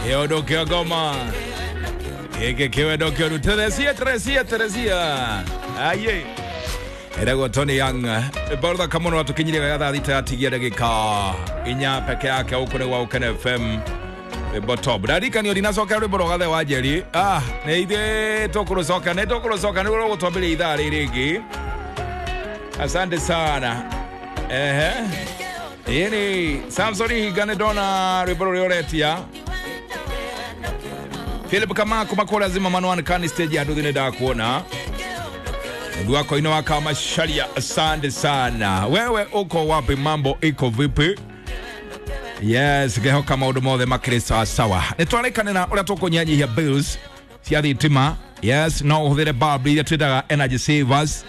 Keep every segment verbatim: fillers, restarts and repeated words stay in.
Ĩũndũ kĩongoma gĩkĩ kĩwendo kĩũru. Teresia, Teresia, Teresia, aye, ĩragwo Tony Young. Rwĩmbo rũthaka mũno rwatũkinyirie wega thaa thita yatigia ndagĩka inya peke yake. Gũkũ nĩ gwa Gũkena F M, rwĩmbo top. Ndarikanio ndinacokera rwĩmbo rwa Gathe wa Njeri. Ah, nĩ ithuĩ tũkũrũcoka, nĩ tũkũrũcoka nĩguo rũgũtwambĩrĩria ithaa rĩrĩ rĩngĩ. Asante sana. Ehe, ĩni Samson Hinga, nĩ ndona rwĩmbo rũrĩa ũretia. Philip Kamako makora zima manuan kani stage ya nduthi, nĩ ndakuona. Ndugu wako ino waka Masharia, asante sana. Wewe uko wapi? Mambo iko vipi? Yes, ngehoka maũndũ mothe makĩrĩ sawa sawa. Nĩ twarĩkanĩra ũrĩa tũkũnyihanyihia bills cia thitima. Yes, no ũhũthĩre bulb iria twĩtaga energy savers.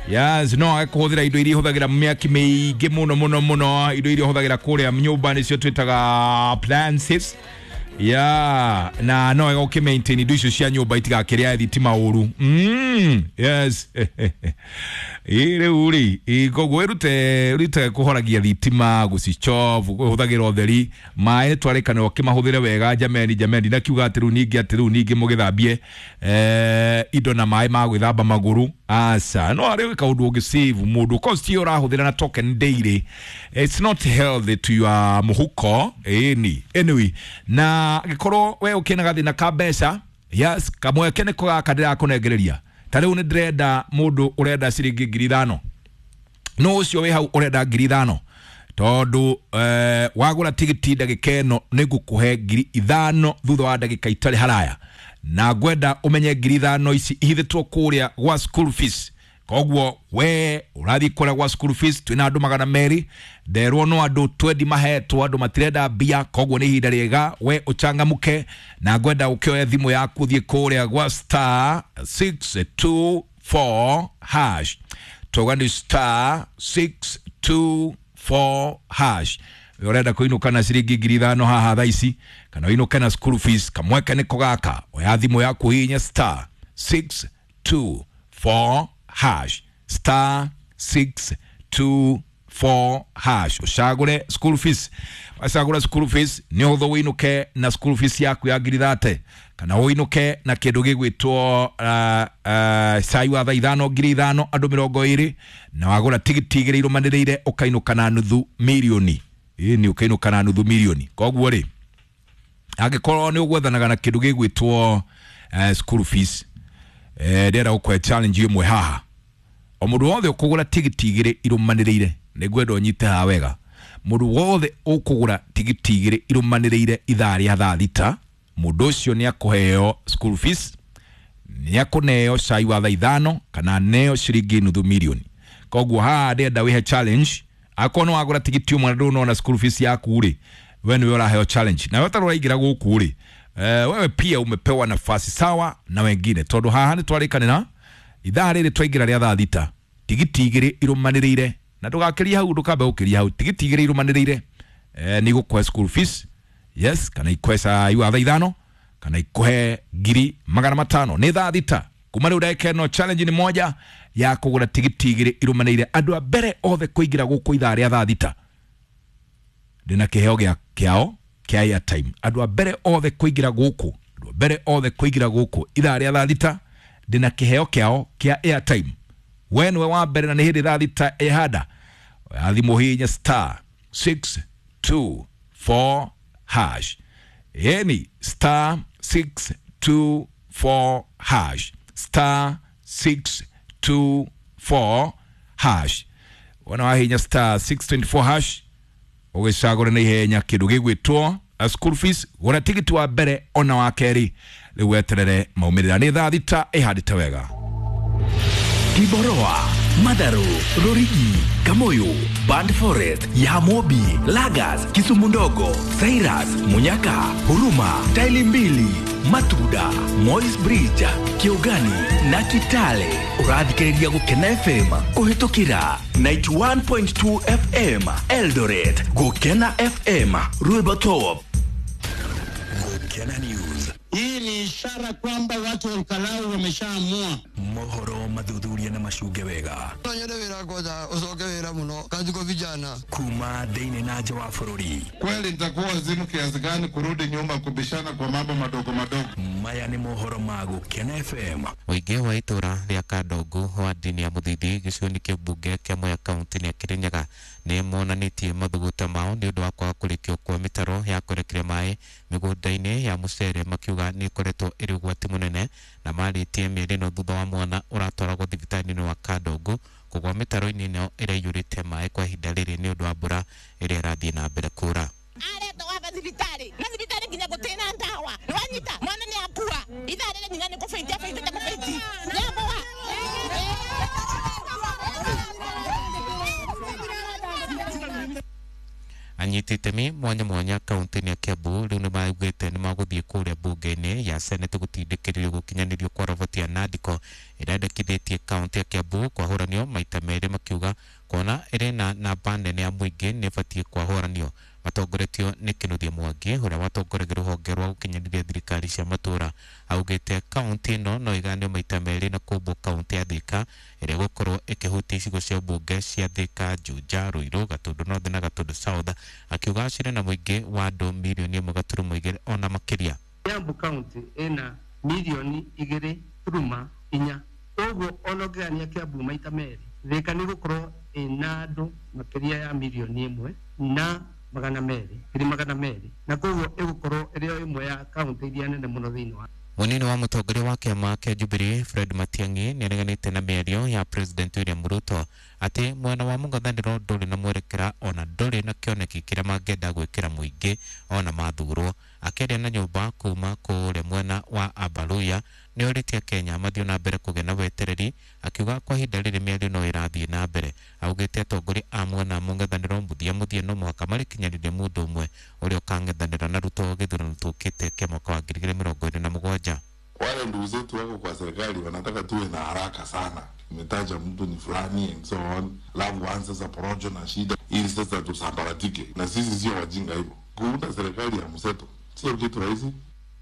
Yes, no age kũhũthĩra indo iria ihũthagĩra mĩaki mĩingĩ mũno mũno mũno, indo iria ũhũthagĩra kũrĩa nyũmba nĩcio twĩtaga appliances. Yeah, na no wega ũkĩ maintain indo icio cia nyũmba itigakĩrĩa thitima ũru. mm, yes ĩ rĩu rĩ, koguo ĩrute ĩrute kũhoragia thitima, gũcichovu, kũhũthagĩra ũtheri. Maĩ nĩ twarĩkanĩrwo ũkĩmahũthĩre wega. Jameni, jameni, ndakiuga atĩ rĩu ningĩ atĩ rĩu ningĩ mũgĩthambie eh, indo na maĩ ma gwĩthamba magũrũ, aca. No arĩ kaũndũ ũngĩ save mũndũ cost ĩyo ũrahũthĩra na token daily, it's not healthy to your mũhuko. Ĩni anyway, na gĩkorwo we ũkĩna gathĩna ka mbeca, yes, kamweke nĩko gaka ndĩrakũnengereria. Ta rĩu nĩ ndĩrenda mũndũ ũrenda ciringi ngiri ithano, no ũcio wĩ hau ũrenda ngiri ithano, tondũ eh, wagũra tigiti ndagĩka ĩno nĩ ngũkũhe ngiri ithano thutha wa ndagĩka itarĩ haraya. Na ngwenda ũmenye ngiri ithano ici ihithĩtwo kũrĩa gwa school fees. Koguo we ũrathiĩ kũrĩa gwa school fees, twĩna andũ magana merĩ, nderwo no andũ twendi mahetwo, andũ matirenda mbia. Koguo nĩ ihinda rĩega we ũchangamke, na ngwenda ũkĩoe thimũ yaku, ũthiĩ kũrĩa gwa star six two four hash. Toga nĩ star six two four hash. We ũrenda kũinũka na ciringi ngiri ithano haha thaa ici, kana ũinũke na school fees, kamweke nĩko gaka. Oya thimũ yaku, hihinya star six two four hash, star six two four hash, ũcagũre school fees. Wacagũra school fees, nĩ ũhũthũ ũinũke na school fees yaku ya ngiri thate, kana ũinũke na kĩndũ gĩgwĩtwo uh, uh, cai wa thaa ithano, ngiri ithano andũ mĩrongo ĩrĩ. Na wagũra tigiti igĩrĩ irũmanĩrĩire, ũkainũka na nuthu mirioni. Ĩni, ũkainũka na nuthu mirioni. Koguo rĩ, angĩkorwo nĩ ũgwethanaga na kĩndũ gĩgwĩtwo uh, school fees, eh, ndĩrenda gũkũhe challenge ĩmwe haha. O mũndũ wothe ũkũgũra tigiti igĩrĩ irũmanĩrĩire, nĩ ngwenda ũnyite haha wega, mũndũ wothe ũkũgũra tigiti igĩrĩ irũmanĩrĩire ithaa rĩa thaa thita, mũndũ ũcio nĩ akũheo school fees, nĩ akũneo cai wa thaa ithano, kana aneo ciringi nuthu mirioni. Koguo haha ndĩrenda wĩhe challenge. Akorwo nĩ wagũra tigiti ũmwe na ndũnona school fees yaku rĩ, we nĩwe ũraheo challenge. Na we ũtarĩ ũraingĩra gũkũ rĩ, eh, wewe pia umepewa nafasi sawa na wengine, tondũ haha nĩ twarĩkanĩra ithaa rĩrĩ twaingĩra rĩa thaa thita, tigiti igĩrĩ irũmanĩrĩire, na ndũgakĩrie hau, ndũkambe gũkĩria hau, tigiti igĩrĩ irũmanĩrĩire eh, nĩ igũkũhe school fees, yes, kana ikũhe cai wa thaa ithano, kana ikũhe ngiri magana matano. Nĩ thaa thita kuma rĩu, ndagĩka ĩno, challenge nĩ moja ya kũgũra tigiti igĩrĩ irũmanĩrĩire. Andũ a mbere othe kũingĩra gũkũ ithaa rĩa thaa thita, ndĩna kĩheo gĩa kĩao kĩa airtime. Andũ a mbere othe kũingĩra gũkũ, andũ a mbere othe kũingĩra gũkũ ithaa rĩa thaa thita, ndĩna kĩheo kĩao kĩa airtime. We nĩwe wa mbere, na nĩ hĩndĩ thaa thita ĩhanda. Oya thimũ, hihinya star six two four hash. Yani star six two four hash, star six two four hash. Wona wahinya star six two four hash, ũgĩcagũre na ihenya kĩndũ gĩgwĩtwo a school fees. Gũra tigiti wa mbere ona wa kerĩ, rĩu weterere maumĩrĩra. Nĩ thaa thita ĩhandĩte wega. Kiboroa, Madaro, Rorigi, Kamoyo, Band Forest, Yamobi, Lagas, Kisumu Ndogo, Cyrus, Munyaka, Huruma, Taili Mbili, Matuda, Moi's Bridge, Kiogani na Kitale. Ũrathikĩrĩria Gũkena F M kũhĩtũkĩra ninety-one point two F M Eldoret. Gũkena F M, rwĩmbo top. Gũkena News. Hii ni ishara kwamba watu wa Olkalau wameshaamua. Mohoro mathuthuria na macunge wega. No nyende wĩra ngoja ũcoke wĩra mũno kazi kwa vijana. Kuma thĩinĩ na nja wa bũrũri. Kweli nitakuwa wazimu kiasi gani kurudi nyuma kubishana kwa mambo madogo madogo? Maya nĩ mohoro ma Gũkena F M. Mũingĩ wa itũra rĩa Kandongu wa ndini ya Mũthithi gĩcigo-inĩ kĩa mbunge kĩa Mwea kaunti-inĩ ya Kĩrĩnyaga nĩ monanĩtie mathugunda mao nĩ ũndũ wa kwaga kũrĩkio kwa mĩtaro ya kwerekeria maĩ mĩgũnda-inĩ ya mũcere, makiuga nĩ ĩkoretwo ĩrĩ ũgwati mũnene na marĩtie mĩeri ĩno thutha wa mwana ũratwaragwo thibitarĩ-inĩ wa Kandongu kũgwa mĩtaro-inĩ ĩno ĩrĩa ĩiyũrĩte maĩ kwa ihinda rĩrĩ nĩ ũndũ wa mbura ĩrĩa ĩrathiĩ na mbere kura. Aretwo waba thibitarĩ na thibitarĩ nginya gũtĩna ndawa nĩwanyita mwana nĩ akua ithaa rĩrĩ nginya nĩ kũbĩnti abĩntĩte kũbĩnti nĩakua. Anyiti itemi mwanya mwanya kaunti-inĩ ya Kiambu rĩu nĩmaugĩte nĩmagũthiĩ kũrĩa mbunge-inĩ ya Senate gũtindĩkĩrĩrio gũkinyanĩrio kwa roboti ya Nandiko ĩrĩa yandĩkithĩtie kaunti ya Kiambu kwahũranio maita merĩ, makiuga kuona ĩrĩ na namba nene ya mũingĩ nĩ ĩbatiĩ kwahũranio. Matongoretio nĩ Kĩnuthia Mwangi ũrĩa watongoragia rũhonge rwa gũkinyanĩria thirikari cia matũũra, augĩte kaunti ĩno no ĩgayanio maita merĩ na kũmbwo kaunti ya Thika ĩrĩa ĩgũkorwo ĩkĩhutia icigo cia mbunge cia Thika, Juja, Ruiru, Gatundu North na Gatundu South, akiuga cirĩ na mũingĩ wa andũ mirioni ĩmwe gaturumo igĩrĩ ona makĩria. Kiambu kaunti ĩna mirioni igĩrĩ turuma inya, ũguo ona ũngĩgania Kiambu maita merĩ, Thika nĩ gũkorwo ĩna andũ makĩria ya mirioni ĩmwe na magana merĩ ngiri magana merĩ, na koguo ĩgũkorwo ĩrĩ o ĩmwe ya kaunti iria nene mũno thĩinĩ wa. Mũnini wa mũtongoria wa kĩama kĩa Jubilee Fred Matiang'i nĩareganĩte na mĩario ya President William Ruto atĩ mwena wa mũng'ethanĩro ndũrĩ na mwerekera ona ndũrĩ na kĩoneki kĩrĩa mangĩenda gwĩkĩra mũingĩ ona mathurwo. Akĩaria na nyũmba kuma kũrĩa mwena wa Abaluya nĩorĩtie Kenya mathiĩ na mbere kũgĩa na wetereri, akiuga kwa ihinda rĩrĩ mĩario no ĩrathiĩ na mbere. Augĩte atongoria a mwena wa mũng'ethanĩro mũthia mũthia no mũhaka marĩkinyanĩrie mũndũ ũmwe ũrĩa ũkang'ethanĩra na Ruto gĩthurano tũkĩte kĩa mwaka wa ngiri igĩrĩ mĩrongo ĩrĩ na mũgwanja. Wale ndugu zetu wako kwa serikali wanataka tuwe na haraka sana, umetaja mtu ni fulani and so on, alafu anza sasa porojo na shida ili sasa tusambaratike, na sisi sio wajinga hivyo. Kuunda serikali ya mseto sio kitu rahisi.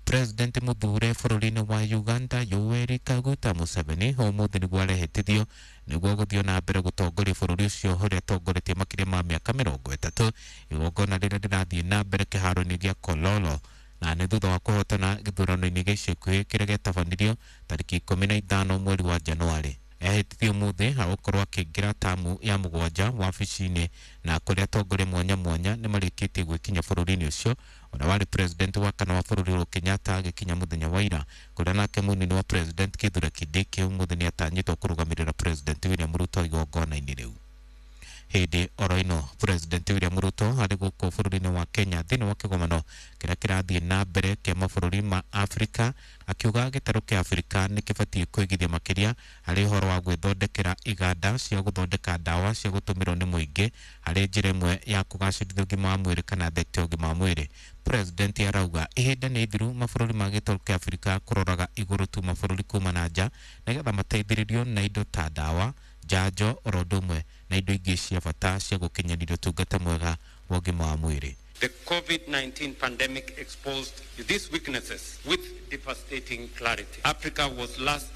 President muthure bũrũri-inĩ wa Uganda Yoweri Kaguta Museveni ũmũthĩ nĩguo arehĩtithio nĩguo gũthiĩ na mbere gũtongoria bũrũri ũcio ũrĩa atongoretie makĩria ma mĩaka mĩrongo ĩtatũ. Igongona rĩrĩa rĩrathiĩ na mbere kĩharo-inĩ gĩa Kololo na nĩ thutha wa kũhotana gĩthurano-inĩ gĩa ica ikuhĩ kĩrĩa gĩatabanirio tarĩki ikũmi na ithano mweri wa Januarĩ. Ehĩtithio ũmũthĩ agũkorwo akĩingĩra tamu ya mũgwanja wabici-inĩ na kũrĩa atongoria mwanya mwanya nĩmarĩkĩtie gwĩkinya bũrũri-inĩ ũcio ũrĩa warĩ president wa kana wa bũrũri Uhuru Kenyatta agĩkinya mũthenya wa ira, kũrĩa nake mũnini wa president Kithure Kindiki ũmũthĩ nĩatanyĩtwo kũrũgamĩrĩra president William Ruto igongona-inĩ rĩu. Hĩndĩ oro ĩno President William Ruto arĩ gũkũ bũrũri-inĩ wa Kenya thĩinĩ wa kĩgomano kĩrĩa kĩrathiĩ na mbere kĩa mabũrũri ma Afrika, akiuga gĩtarũ kĩa Afrika nĩ kĩbatiĩ kũigithia makĩria harĩ ũhoro wa gwĩthondekera iganda cia gũthondeka ndawa cia gũtũmĩrwo nĩ mũingĩ harĩ njĩra ĩmwe ya kũgacĩrithia ũgima wa mwĩrĩ kana thekta ya ũgima wa mwĩrĩ. President arauga ihinda nĩ ithiru mabũrũri ma gĩtarũ kĩa Afrika kũroraga igũrũ tu mabũrũri kuma na nja nĩgetha mateithĩrĩrio na indo ta ndawa, njanjo oro ũndũ ũmwe na indo ingĩ cia bata cia gũkinyanĩria ũtungata mwega wa ũgima wa mwĩrĩ. The COVID nineteen pandemic exposed these weaknesses with devastating clarity. Africa was last